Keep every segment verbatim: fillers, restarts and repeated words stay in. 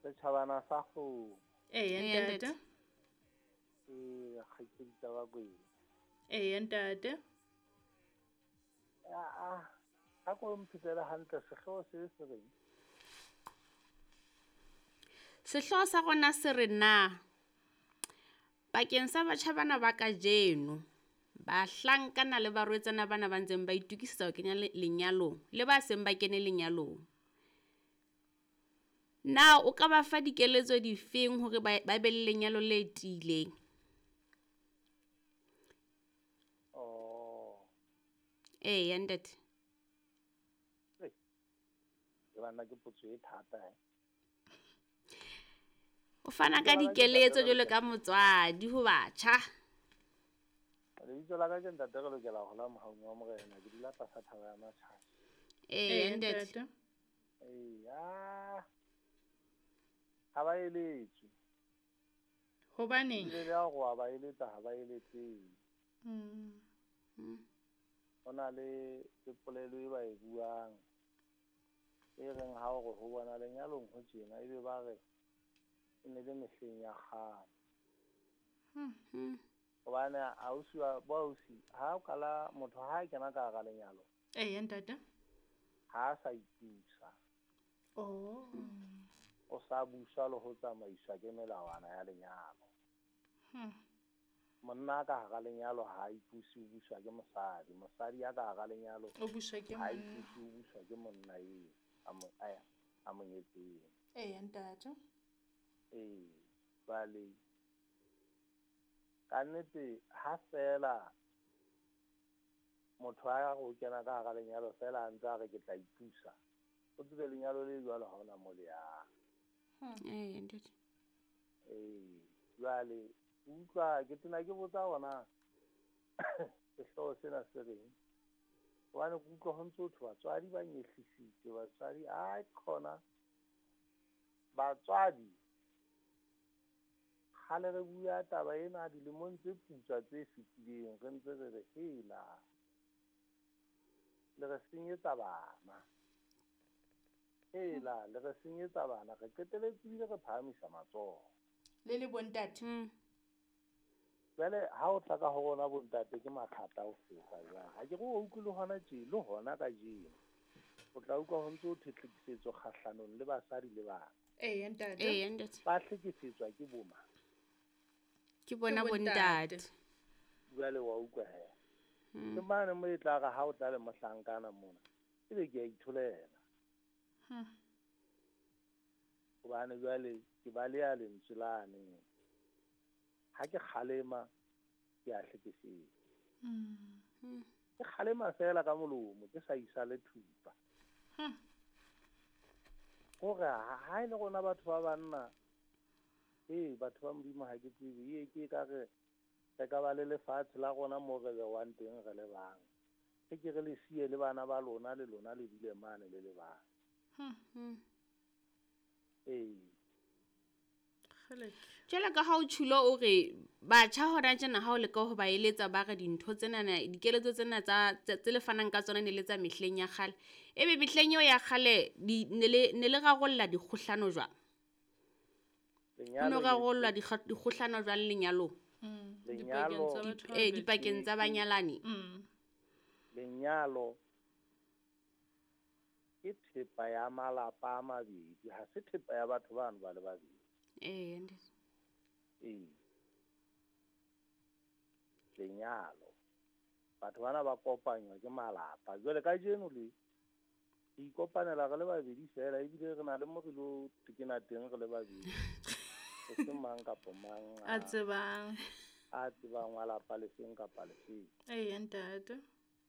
Setjhabana sa kgomo. Eya ntate. Ee, kgaitsedi tsa Bakwena. Eya ntate. A a ko mphetele hantle sehlooho se se reng? Sehlooho sa rona se re na bakeng sa batjha bana ba kajeno, bahlankana le barwetsana bana ba ntseng ba itokisetsa ho kenya lenyalong le ba seng ba kene lenyalong. Na o ka ba fa dikeletso difeng hore ba ba be le lenyalo le tiileng? Oh. Eya ntate. Ke banna ke potso e thata eh. O fana ka dikeletso jwalo ka motswadi ho batjha. Lebitso la ka ke ntate re lokela ho la mohaung wa morena, ke dula tlasa thaba ya Matjhabe. Eya ntate. Eya. Ha ba eletswe. Hobaneng? Ebile le ha hore wa ba eletsa ha ba eletsehe. Mm. Ho na le le polelo e ba e buang e reng ha o re ho bona lenyalong ho tjena ebe ba re e ne le mehleng ya kgale. Hmm. Hobane ausi wa bo ausi ha o kala motho ha a kena ka hara lenyalo. Eya ntate. Ha a sa ipusa. Oh. O sa buswa le ho tsamaiswa ke melawana ya lenyalo. Hmm. Monna ka hara lenyalo ha a ipuse, o buswa ke mosadi. Mosadi ya ka hara lenyalo o buswa ke ha a monna. ipuse, o buswa ke monna eo a mo, a, a mo nyetseng. Eya ntate. Ee, jwale ka nnete ha feela motho a re o kena ka hara lenyalo feela a ntse a re ke tla ipusa, o tsebe lenyalo le jwalo ha hona mo le yang. Eya ntate. Ee, jwale utlwa ke tena ke botsa hona sehlooho sena se reng, hobane ke utlwa ho ntso thwe batswadi ba nyehlisitse, batswadi ai khona batswadi kgale re bua taba ena dilemong tse putswa tse fetileng, re ntse re re hela le re senyetsa bana, hela le re senyetsa bana, re qeteletse ebile re phahamisa matsoho. Le le bontate. Mm. Jwale ha o tla ka ho rona bontate ke mathata ho feta jwang. Ha ke re o utlwe le hona tje, le hona kajeno. O tla utlwa ho ntso ho thwe tlhekefetso kgahlanong le basadi le bana. Eya ntate. Eya ntate. Ba hlekefetswa ke bo mang? Ke bona Ke bontate. bontate. Jwale wa utlwa he. Mm. Ke mane mo e tla re ha o tla le mohlankana mona, ebe ke a itholela. Hmm. Hobane jwale ke baleha lentswe lane. Ha ke kgalema ke a hlekefetsa. Mm. Ke kgalema feela ka molomo, ke sa isa le thupa. Hmm. Hore ha, ha e le rona batho ba banna, ee, batho ba Modimo ha ke tsebe, ee, ke ka re re ka ba le lefatshe la rona moo re bewang teng re le bang. Re ke re le siye le bana ba lona, le lona le dule mane le le bang. Hmm. Ee. Kgeleke. Jwalo ka ha o tjhulo o re batjha hona tjena ha o leka ho ba eletsa ba re dintho tsenana, dikeletso tsena tsa, tse, tse le fanang ka tsona ne le tsa mehleng ya kgale. Ebe mehleng eo ya kgale di, ne le, ne le rarolla dikgohlano jwang? Ho no Lenyalo le rarollwa dikga-, dikgohlano jwang lenyalong? Mm. Lenyalo Dipakeng tsa batho ba Eh, babedi. dipakeng tsa banyalani. Mm. Lenyalo ke thepa ya malapa a mabedi, ha se thepa ya batho bano ba le babedi. Ee, ntate. Ee. Lenyalo. Batho bana ba kopanywa ke malapa. Jwale kajeno le re ikopanela re le babedi feela, ebile re na le mo re lo tekena teng re le babedi. E seng mang kapa mang A tsebang. a tsebang wa lapa lefeng kapa lefeng. Eya ntate.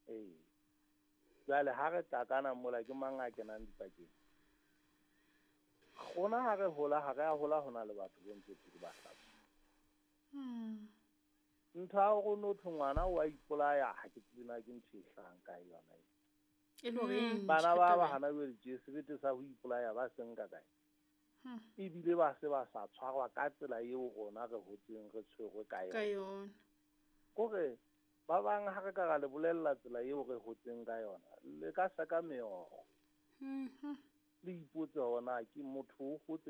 Ee. Jwale ha re tlakana mola ke mang a kenang dipakeng? Rona ha re hola, ha re a hola ho na le batho bo ntse ke ba hlapa. Hmm. Ntho ya hore no thwe ngwana o a ipolaya, ha ke tsebe na ke ntho e hlahang kae yona e. E le hore e Hmm. ntjha Bana ba taba ba e. hana jwale tje, sebete sa ho ipolaya ba se nka kae? Hmm. Ebile ba se ba sa tshwarwa ka tsela eo rona re hotseng re tshwerwe ka Ka yona. yona. Kore ba bang ha re ka ra le bolella tsela eo re hotseng ka yona, le ka seka meokgo. Hmm. Le ipotse hore na ke motho o hotse